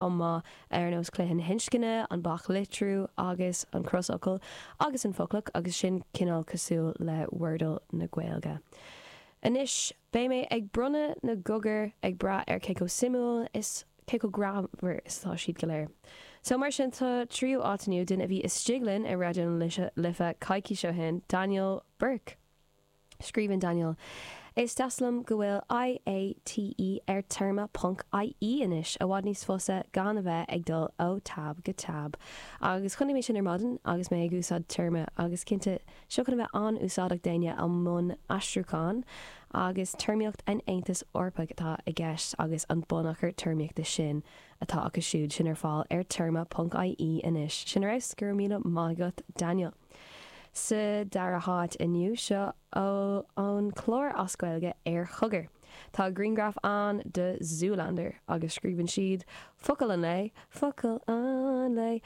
Chomh maith, ar nós cluiche na hinscne, an baclitriú agus an crosfhocal agus an foclach agus sin cineál cosúil le Wordle na Gaeilge. Anois, beidh mé ag bronnadh na gcogar ag brath ar cé chomh suimiúil is cé chomh greannmhar is atá siad go léir. So mar sin sa tríú áit inniu, duine a bhí istigh linn ar Raidió na Life coicís ó shin, Daniel Burke. Scríobhann Daniel, Is deas liom go bhfuil IATE ar téarma ponc IE anois, i bhfad níos fusa gan a bheith ag dul ó tab go tab. Agus chonaic mé sin ar maidin agus mé ag úsáid téarma agus cinnte, seo chun a bheith an-úsáideach d'éinne i mbun aistriúcháin agus téarmaíocht an Aontais Eorpaigh atá i gceist agus an bunachar téarmaíochta sin atá acu siúd sin ar fáil ar téarma ponc IE anois. Sin ar fheabhas, go raibh míle maith agat Daniel. Sa dara háit inniu, seo ón chlár as Gaeilge ar Chogar. Tá grianghraf ann de Zoolander agus scríobhann siad, Focal an lae, focal an lae,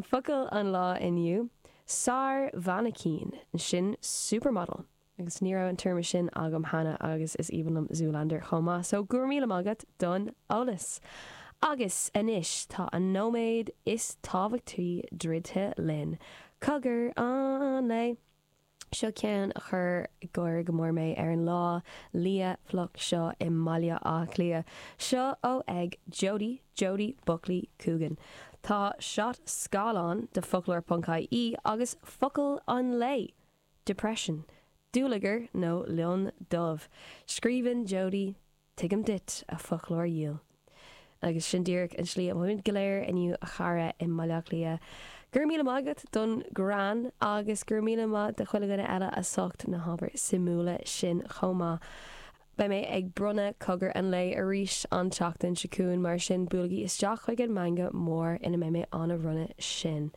focal an lá inniu, sár-mhainicín, sin supermodel. Agus ní raibh an téarma sin agam cheana agus is aoibhinn liom Zoolander chomh maith, so go raibh míle maith agat don eolas! Agus anois tá an nóiméad is tábhachtaí druidte linn. Cogar an lae! Seo ceann a chuir ag gáire go mór mé ar an lá liath fliuch seo i mBaile Átha Cliath. Seo ó ag Jodie, Jodie Buckley chugainn. Tá shot scáileáin de foclóir ponc ie agus focal an lae! Depression, dúlagar nó lionn dubh. Scríobhann Jodie, Tuigim duit, a fhoclóir dhil. Agus sin díreach an tslí a mothaímid go léir inniu a chara i mBaile Átha Cliath. Go raibh míle maith agat don ghreann agus go raibh míle maith do chuile dhuine eile as ucht na hábhair suimiúla sin chomh maith. Beidh mé ag bronnadh cogar an lae arís an tseachtain seo chugainn, mar sin buailigí isteach chuig an meangadh mór ina mbeidh mé á bhronnadh sin.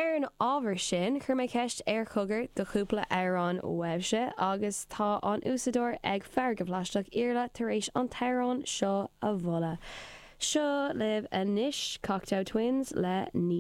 Ar an ábhar sin, chuir mé ceist ar Chogar do chúpla amhrán uaibhse agus tá an úsáideoir ag Farraige Phlaisteach Iarla tar éis an t-amhrán seo a mholadh. Seo libh anois Cocteau Twins le Ní.